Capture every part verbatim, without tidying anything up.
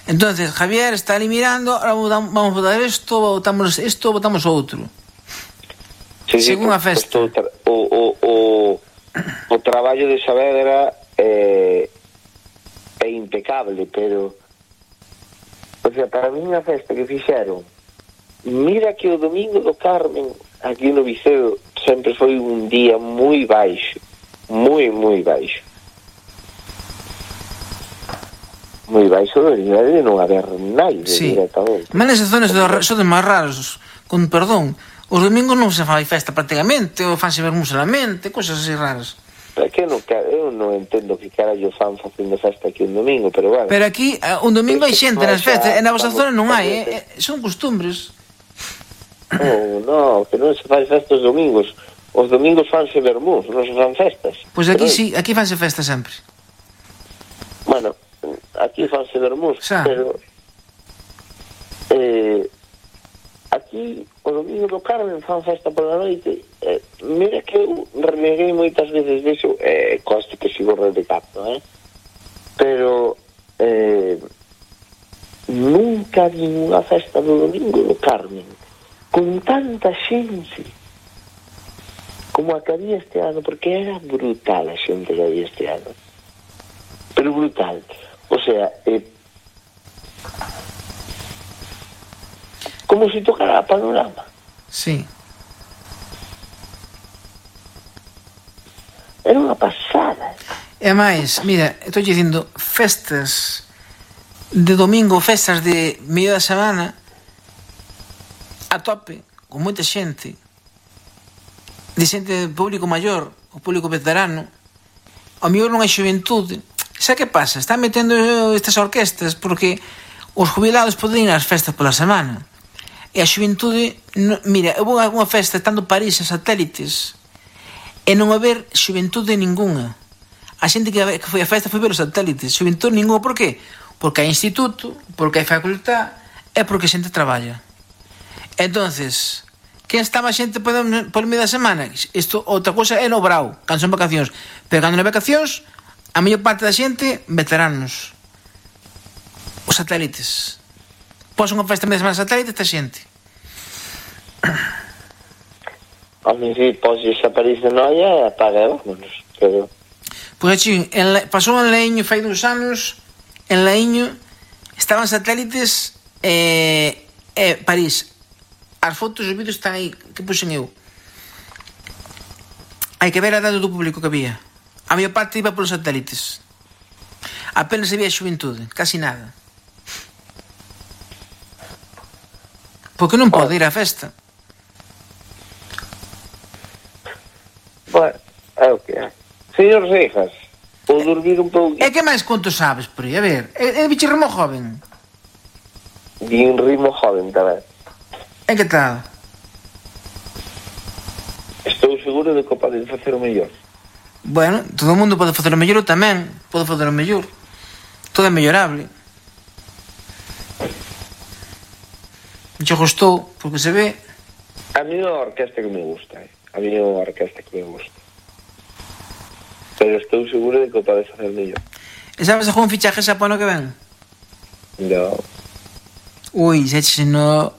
Entonces Javier está ali mirando, ahora vamos a votar isto, votamos isto, votamos outro. Sí, según sí, a festa. O, o, o, o traballo de Saavedra é, é impecable, pero o sea, para mí a festa que fixeron, mira que o domingo do Carmen aquí no Vicedo sempre foi un día moi baixo, moi, moi baixo. Moi baixo debería de non haber naide, sí. Directamente. Mas nesas zonas son de máis raros, con perdón. Os domingos non se fai festa prácticamente, ou fanse vermú solamente, cousas así raras. Pero que non, eu non entendo que carallo fan facendo festa aquí un domingo, pero bueno. Pero aquí, un domingo hai xente nas festas, e na vosa zona non hai, eh, son costumbres. Non, non, que non se fai festa os domingos. Os domingos fanse vermús, non se fan festas. Pois aquí sí, aquí fanse festa sempre. Bueno, aquí fanse vermús, pero eh, aquí o domingo do Carmen fan festa pola noite. Eh, mira que eu reneguei moitas veces disso, eh, coste que sigo redecando, eh? Pero eh, nunca vi unha festa do domingo do Carmen con tanta xente como a que había este ano, porque era brutal a xente que había este ano, pero brutal. O sea, eh, como se tocara a panorama. Sí. Era unha pasada. E máis, mira, estou dicindo festas de domingo, festas de medio da semana a tope, con moita xente, de xente público maior, o público veterano. Ao mellor non hai xuventude. Xa que pasa? Están metendo estas orquestas porque os jubilados poden ir ás festas pola semana. E a xuventude, no, mira, eu vou a unha festa estando París a satélites e non haber xuventude ninguna. A xente que, que foi a festa foi ver os satélites, xuventude ninguna. Por qué? Porque hai instituto, porque hai facultad e porque a xente traballa. Entonces, quen estaba a xente por medio da semana? Isto, outra cosa é no brao, cando son vacacións. Pero cando non hai vacacións, a mellor parte da xente, veteranos. Os satélites. Pos unha festa media semana satélite, esta xente. A mí si pos esa París de noia e apaga, vámonos. Pero... Pois aquí, en, pasou en Laíño fai dous anos, en Laíño estaban satélites e eh, eh, París. As fotos e os vídeos están aí, que puxen eu. Hai que ver a dado do público que había. A maior parte iba polos satélites. Apenas había xuventude, casi nada. Porque non pode ir á festa. Bueno, é o que é. Señor Rejas, ou dormir un pouco. E que máis conto sabes por aí? A ver, é, é bicho rimo joven. Din rimo joven tamén. E que tal? Estou seguro de que podes facer o mellor. Bueno, todo o mundo pode facer o mellor, eu tamén podo facer o mellor. Todo é mellorable. Che gustou, porque se ve. A mí é a orquesta que me gusta, eh? A mí é a orquesta que me gusta. Pero estou seguro de que o podes facer mellor. E sabes algún fichaje xa para ano que ven? No. Ui, xa che no...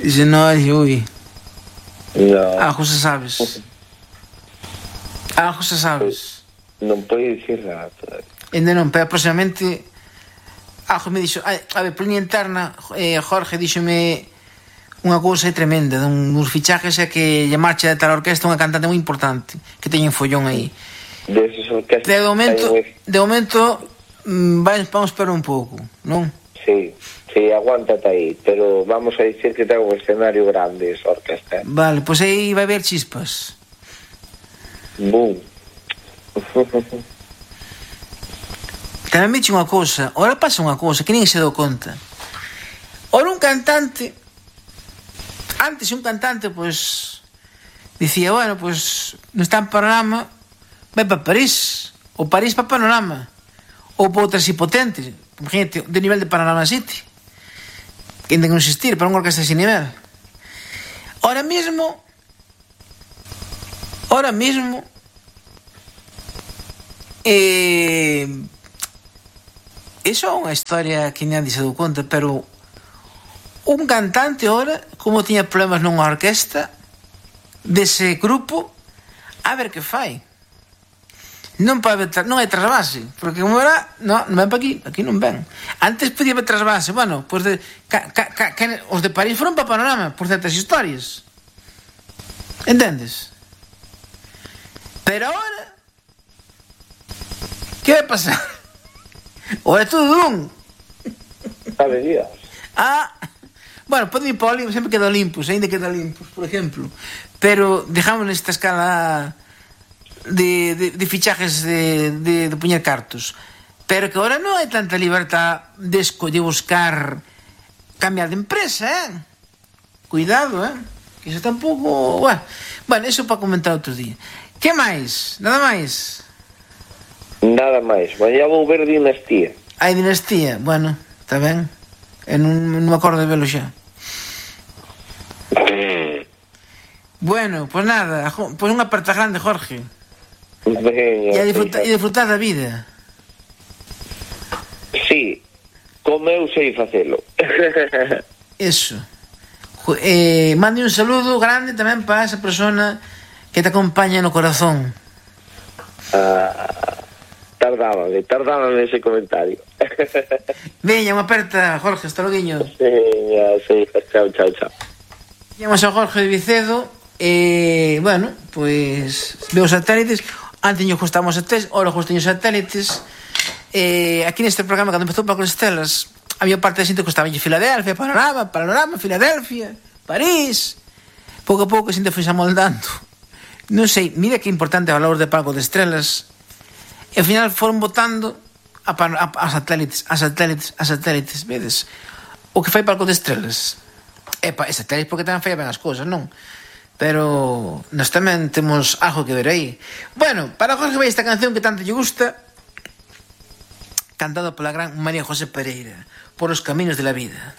Se no, ui. No. Algo xa sabes. Algo xa sabes. Non pode dicir nada todavía. Ainda non, pero aproximadamente... Algo me dixo... A ver, por linha interna, eh, Jorge díxome unha cousa tremenda, dun, uns fichajes é que lle marcha de tal orquesta unha cantante moi importante, que teñen follón aí. Deses orquestas... De momento, de momento, vamos, vamos esperar un pouco, non? Sí, sí, aguántate aí, pero vamos a dicir que ten un escenario grande esa orquesta. Vale, pois pues aí vai haber chispas. Boom. Tamén me dixe unha cousa, ora pasa unha cousa que nin se dou conta. Ora un cantante, antes un cantante, pois, dicía, bueno, pois, non está en Panorama, vai para París, ou París para Panorama, ou para outras hipotentes, imagínate, de nivel de Panorama City, que ainda que non existir, para unha orquesta sin nivel. Ora mesmo, ora mesmo, eh... Iso é unha historia que nadie se dou conta, pero un cantante ora, como tiña problemas nunha orquesta dese grupo, a ver que fai. Non pode haber, non hai trasvase, porque como era, non, non ven para aquí, aquí non ven. Antes podía haber trasvase, bueno, pues de, ca, ca, ca, ca, os de París foron para Panorama por certas historias. Entendes? Pero ahora, que vai pasar? Ou é todo dun? Sabe Dios. Ah, bueno, pode ir para o Olympus, sempre queda Olympus, ainda queda Olympus, por exemplo. Pero dejamos nesta escala de, de, de fichajes de, de, de poñer cartos. Pero que ahora non hai tanta libertad de escoller buscar cambiar de empresa, eh? Cuidado, eh? Que iso tampouco... Bueno, bueno, eso para comentar outro día. Que máis? Nada máis? Nada máis. Mañá vou ver Dinastía. Hai Dinastía? Bueno, está ben. E non, non me acordo de velo xa. Bueno, pues nada, pues unha aperta grande, Jorge. Venga, E a disfrutar, e disfrutar da vida. Sí, como eu sei facelo. Eso. Eh, mande un saludo grande tamén para esa persona que te acompaña no corazón. Ah, tardábame, tardábame ese comentario. Veña, unha aperta, Jorge, hasta loguiño. Veña, sí, chao, chao, chao. Llamamos a Jorge de Vicedo. Eh, bueno, pues veo satélites. Antes nos gustamos satélites, ahora gustan os satélites. Eh, aquí neste programa, cando empezou Paco Estelas, había parte de xente que gustaba Filadelfia, Panorama, Panorama, Filadelfia, París. Pouco a pouco a xente foi amoldando. Non sei, mira que importante o valor de Paco de Estrelas. E ao final foron votando a, a, a satélites, a satélites, a satélites, vedes? O que fai Paco de Estrelas. Epa, e satélites porque tamén fai ben as cousas, non? Pero nós tamén temos algo que ver aí. Bueno, para Jorge vai esta canción que tanto lle gusta, cantada pola gran María José Pereira, Por os caminos de la vida.